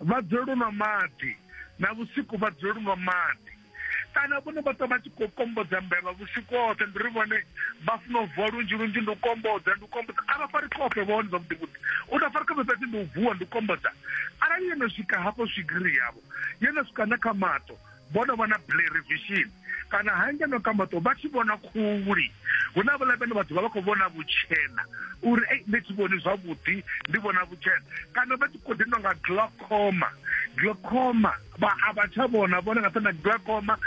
Vha dzulela u nwa maḓi, na vhusiku vha dzulela u nwa maḓi. Kana vhone vha ṱwa vha tshi khou kombodza mbevha vhusiku hoṱhe, ndi uri vhone vha funa u vuwa lunzhi lunzhi, ndi u kombodza, ndi u kombodza. A vha fari khofhe vhone zwavhuḓi vhuḓi. U tou fara khofhe fhedzi ndi u vuwa, ndi u kombodza. Arali yo no swika hafho swigiri yavho, yo no swika na kha maṱo, vho no vha na blurry vision kana hangeno kha maṱo vha tshi vhona khuli hu na vhaḽa vhane vha ḓovha vha khou vhona vhutshena uri ei nṋe thi vhoni zwavhuḓi ndi vhona vhutshena kana vha tshi khou ḓi nonga glaucoma glaucoma vha a vha tsha vhona vhone nga na glaucoma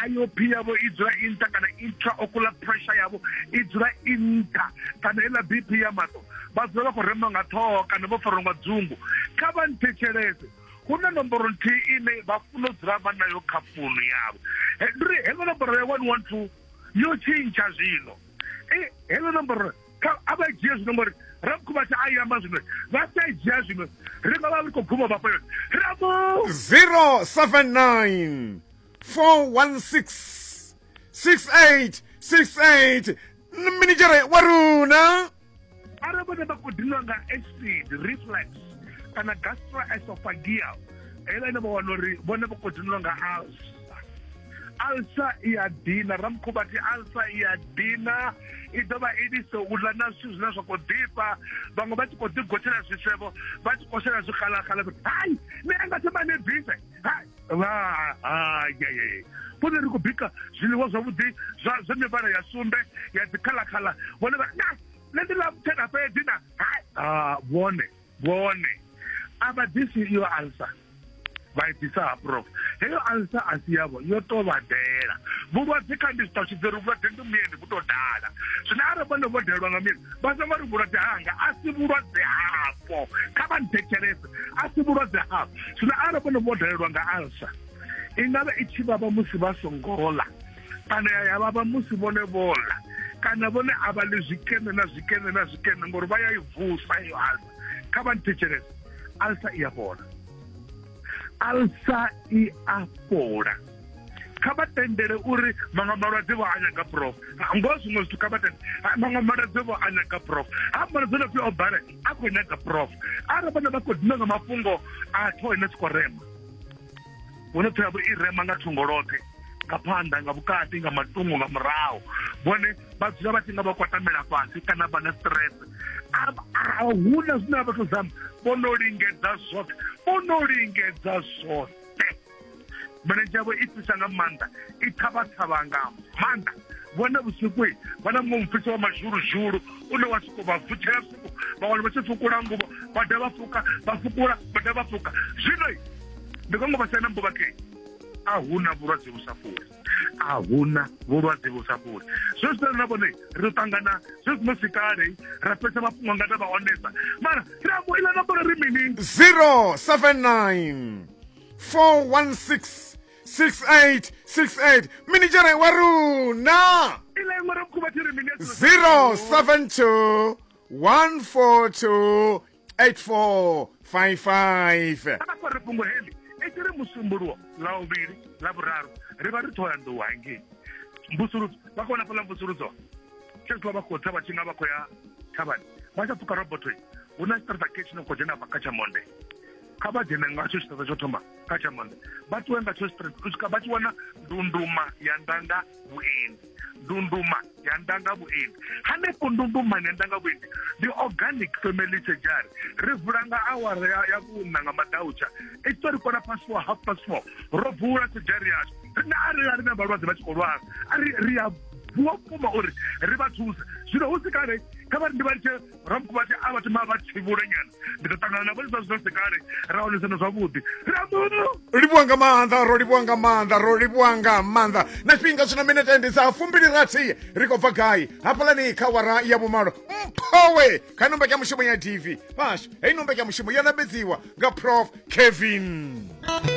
IOP yavho i dzula i nṱha kana intraocular pressure yavho i dzula i nṱha kana heiḽa BP ya maṱo vha dzula vha khou rema nga ṱhoho kana vho farwa nga dzungu kha vha nthetshelese Hu na nomboro nthihi ine vha funa u dzula vha nayo kha founu yavho. Ndi uri heḽo nomboro ya 112 yo tshintsha zwino. Heḽo nomboro kha a vha dzhie zwino ngori Ramukhubatha a i amba zwino vha sa i dzhia zwino ri nga vha ri khou guma vhafha yone. Ramu 079 416 6868 minidzhere wa runa. Arali vhone vha khou dinwa nga acid reflux kana gastroesophageal heiḽa ine vha wana uri vhone vha khou dinwa nga ulcer ulcer i a dina ramukhubathi ulcer i a dina i dovha i lise u ḽa na zwithu zwine zwa khou ḓifha vhaṅwe vha tshi khou ḓigotshela zwisevho vha tshi khou shela zwixalaxala hai ni anga thoma ni bvise hai vha hai vhone ri khou bika zwiḽiwa zwavhuḓi zwa zwa mivhala ya sumbe ya dzikhalakhala vhone vha na nṋe ndi ḽa mutshena fhedzi na hai ah, vhone vhone a vha ḓisi iyo alsa vha i ḓisa ha prof heyo alsa a si yavho yo to vha dela vhulwadze kha ndi zwi ṱalutshedza uri vhulwadze ndi muyeni vhu to dala zwino arali vhone vho delwa nga muyeni vha songo ri vhulwadze hanga a si vhulwadze hafho kha vha nthetshelese a si vhulwadze hafho zwino arali vhone vho dalelwa nga alsa i nga vha i tshi vhavha musi vha songo ḽa kana ya vhavha musi vhone vho ḽa kana vhone a vha ḽi zwikene na zwikene na zwikene ngori vha ya i vusa iyo alsa kha vha nthetshelese alsa i a fhola alsa i a fhola kha vha tendele uri maṅwe malwadze vho a nyaga prof ngoho zwiṅwe zwithu kha vha tende maṅwe malwadze vho a nyaga prof ha malwadze no pfi o bale a khou nyaga prof arali vhone vha khou dina nga mafhungo a ṱhoho ine siko rema vhone ṱhoho yavho i rema nga thungo loṱhe nga phanḓa nga vhukati nga matungo nga murahu vhone vha dzula vha tshi nga vha kwatamela fhasi kana vha na stress a huna zwine vha tou zama vho no lingedza zwoṱhe vho no lingedza zwoṱhe milenzhe yavho i fhisa nga maanḓa i thavha-thavha nga maanḓa vhone vhusiku vha na muṅwe mufhiso wa mazhuluzhulu une wa soko vha vutshela vhusiku vha wana vha tshi fukula nguvho vha dovha vha fuka vha fukula vha dovha vha fuka zwino ndi kongo vha sia na mbuvhakei a huna vhulwadze vhu sa fholi a huna vhulwadze vhu sa fholi zwe zwino na vhone ri ḓo ṱangana zwe zwino si kale ra fhedza mafhungo nga vha onesa mara ri ambo iḽa nomboro ri mini 079 416 6868 minidzhere wa runa iḽa iṅwe ra mukhuva thi ri mini 072 142 8455 a vha fare fhungo heḽi i tshi ri musumbuluwo ḽa vhuvhili ḽa vhuraru ri vha ri ṱhohoyanḓou hangei mvusuludzo vha khou vhona fhaḽa mvusuludzo khezwiḽa vha khou tsa vha tshi nga vha khou ya thavhani vha tsha pfuka robotho hu na tshiṱaraṱa ke tshi no khou dzhena afha kha tsha monde kha vha dzhene ngatsho tshiṱaraṱa tsho thoma kha tsha monde vha ṱuwe nga tsho tshiṱaraṱa u swika vha tshi wana ndunduma ya ndanga vhuendi ndunduma ya ndanga vhuendi hanefho ndundumani ya ndanga vhuendi ndi organic family surgery ri vula nga awara ya, ya vhuṋa nga maḓautsha i tshi ri kona past four half past four ro vula surgery yashu rine arali a ri na vhalwadze vha tshi khou lwala a ri ri a vuwa vhukuma uri ri vha thuse zwino hu si kale kha vha ri ndi vha litshe ramukuvhati a vha thoma vha tsivhule nyana ndi ḓo ṱangana na vhone zwa zwino si kale ra onesana zwavhuḓi ramu livhuwa nga maanḓa ro livhuwa nga maanḓa ro livhuwa nga maanḓa na tshifhinga zwino minete ndi dza fumbili rathi ri khou bva gai hafhalani kha wara ya vhumalo mphowe kha ino mbekanyamushumo ya tv vhashu heyi ino mbekanyamushumo yo nambedziwa nga prof kevin.